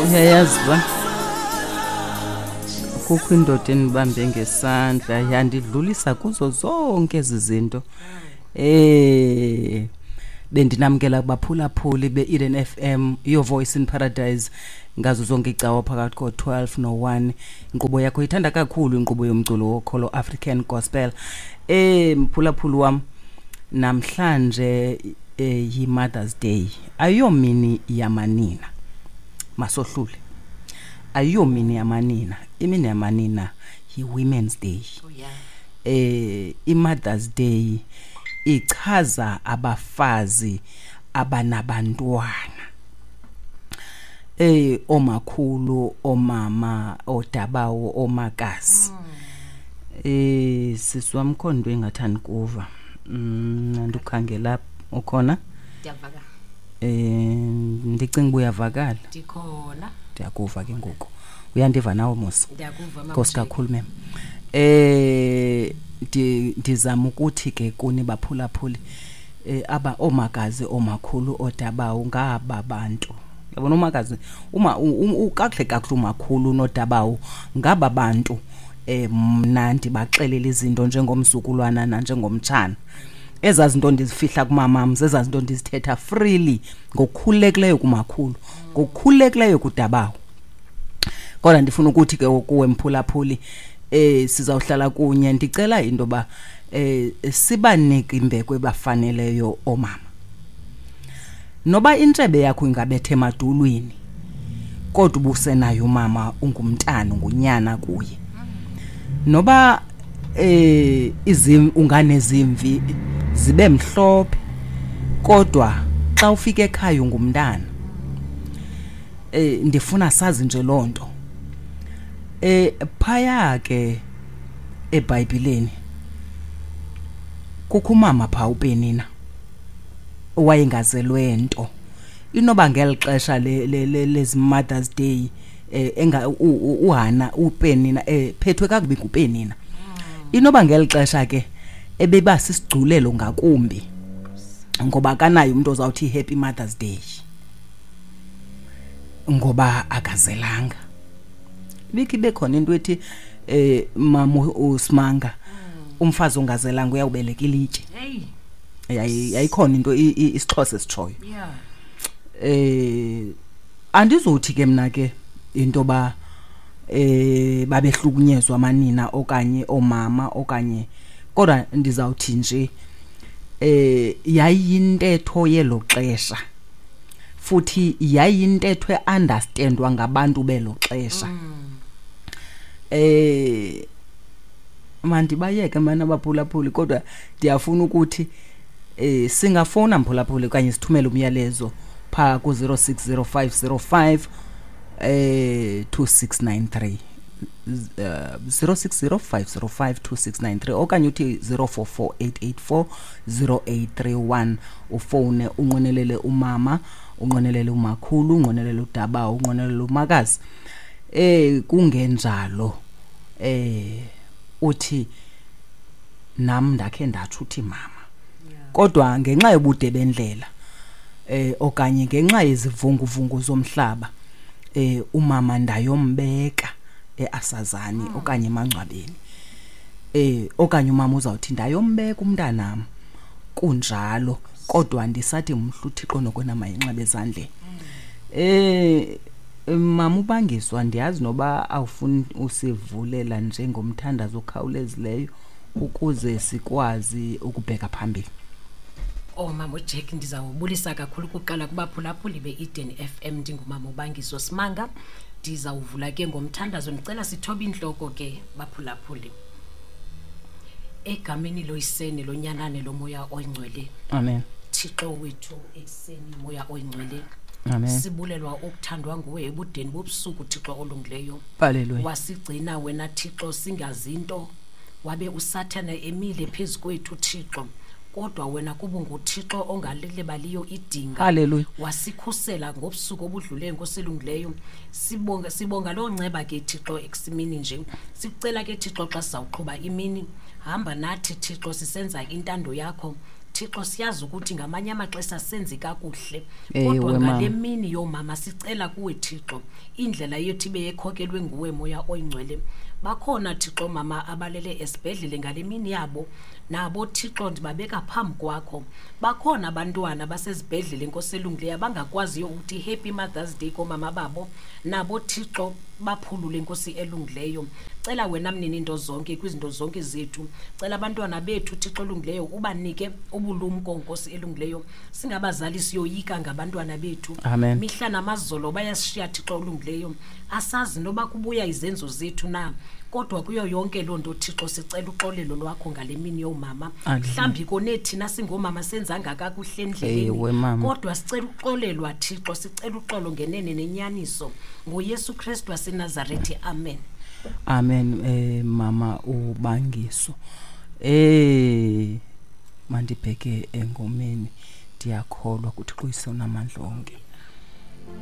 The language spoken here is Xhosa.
Uyayazi uba kukho indoda endibambe ngesandla yandidlulisa kuzo zonke ezi zinto. Bendinamkela kubaphulaphuli be-Eden FM, Your Voice in Paradise, ngazo zonke icawa phakathi ko-12 no-1. Inkqubo yakho ithanda kakhulu inkqubo yomculo wokholo African Gospel. Mphulaphuli wam, namhlanje yi-Mother's Day. Ayiyomini yamanina. Masohlule. Ayiyomini yamanina. Imini yamanina yi-Women's Day. Oh, yeah. I-Mother's Day ichaza abafazi abanabantwana. Omakhulu, omama, odabawo, omakazi. Sisi wam, khona into engathandi kuva. Andikhangela ukhona? Ndiyavakala. Ndicinga uba uyavakala. Ndikhona. Ndiyakuva ke ngoku. Uyandiva nawe Musa? Ndiyakuva, mama. Nkosi kakhulu mem. Ndizama ukuthi ke kuni baphulaphuli, aba omakazi, omakhulu, odabawo ngaba bantu. Yabona umakazi, uma, u, u, kakuhle kakuhle umakhulu nodabawo ngaba bantu, mna ndibaxelela izinto njengomzukulwana nanjengomtshana. Ezaa zinto ndizifihla kumamam, zezaa zinto ndizithetha freely ngokukhululekileyo kumakhulu, ngokukhululekileyo kudabawo. Kodwa ndifuna ukuthi ke kuwe mphulaphuli, sizawuhlala kunye. Ndicela into yoba, sibanike imbeko ebafaneleyo oomama. Noba intshebe yakho ingabetha emadulwini, kodwa ubusenayo umama, ungumntana, ungunyana kuye. Noba unganezimvi zibe mhlophe, kodwa xa ufika ekhaya ungumntana. Ndifuna sazi nje loo nto. Phaya ke eBhayibhileni kukho umama phaa uPenina owayengazelwe nto. Inoba ngeli xesha lezi Mother's Day, enga, uHana uPenina, phethwe kakubi nguPenina. Inoba ngeli xesha ke ebeba sisigculelo ngakumbi, ngoba akanayo umntu ozawuthi Happy Mother's Day, ngoba akazelanga. Ibikhe ibe khona into ethi, mama uSimanga, umfazi ongazelanga uyawubeleka ilitye. Hey. Yayikhona into isiXhosa esitshoyo. Yeah. Andizothi ke mna ke into ba, babehlukunyezwa amanina okanye oomama okanye, kodwa ndizawuthi nje, yayintetho yelo xesha, futhi yayintetho e-understandwa ngabantu belo xesha. Mandibayeke mana abaphulaphuli, kodwa ndiyafuna ukuthi, singafowuna mphulaphuli okanye sithumele umyalezo phaa ku zero six zero five zero five, two six nine three. 0605052693 okanye uthi zero four four eight eight four zero eight three one. Ufowune unqwenelele umama, unqwenelele umakhulu, unqwenelele udabawo, unqwenelele umakazi. Kungenjalo, uthi nam ndakhe ndatsho uthi mama. Kodwa ngenxa yobude bendlela, okanye ngenxa yezivunguvungu zomhlaba, umama ndayombeka eAsazani okanye emangcwabeni. Okanye umama uzawuthi ndayombeka umntanam. Kunjalo, kodwa ndisathi mhla uThixo nokwena mayinxebe ezandleni. Mama uBangiswa, ndiyazi noba awufuni usivulela njengomthandazo okhawulezileyo ukuze sikwazi ukubheka phambili. Oh, mama uJack, ndizawubulisa kakhulu kuqala kubaphulaphuli be-Eden FM. Ndingumama uBangiswa Simanga. Ndizawuvula ke ngomthandazo. Ndicela sithobe intloko ke baphulaphuli. Egameni loyisene lonyana nelomoya oyingcwele. Amen. Thixo wethu ekuseni, moya oyingcwele. Amen. Sibulelwa ukuthandwa nguwe ebudeni bobusuku, Thixo olungileyo. Hallelujah. Wasigcina wena Thixo singazinto, wabe uSathane emile phezu kwethu Thixo. Kodwa wena kuba unguThixo ongalilibaliyo idinga. Hallelujah. Wasikhusela ngobusuku obudluleyo, Nkosi elungileyo. Sibonga loo nceba ke Thixo ekusimini nje. Sikucela ke Thixo xa sizawuqhuba imini, hamba nathi Thixo sisenza intando yakho. Thixo, siyazi ukuthi ngamanye amaxesha senze kakuhle, Ewe, kodwa ngale mama. mini yoomama sicela kuwe Thixo indlela yethu ibe yekhokelwe nguwe Moya Oyingcwele. Bakhona Thixo mama abalele esibhedlele ngale mini yabo, nabo Thixo ndibabeka phambi kwakho. Bakhona abantwana basezibhedlele Nkosi elungileyo abangakwaziyo ukuthi Happy Mother's Day koomama babo, nabo Thixo baphulule Nkosi elungileyo. Cela wena mnini into zonke kwizinto zonke zethu, cela abantwana bethu Thixo olungileyo ubanike ubulumko Nkosi elungileyo. Singabazali siyoyika ngabantwana bethu. Amen. Mihla namazolo bayasishiya Thixo olungileyo, asazi noba kubuya izenzo zethu na, kodwa kuyo yonke loo nto Thixo sicela uxolelo lwakho ngale mini yoomama. Amen. Mhlawumbi kone thina singoomama senzanga kakuhle endleleni, Ewe, mama. kodwa sicela uxolelwa Thixo, sicela uxolo ngenene nenyaniso ngoYesu Kristu waseNazarethe. Amen. Amen. Mama uBangiso, mandibheke engomeni, ndiyakholwa kuThixo uyise onamandla onke.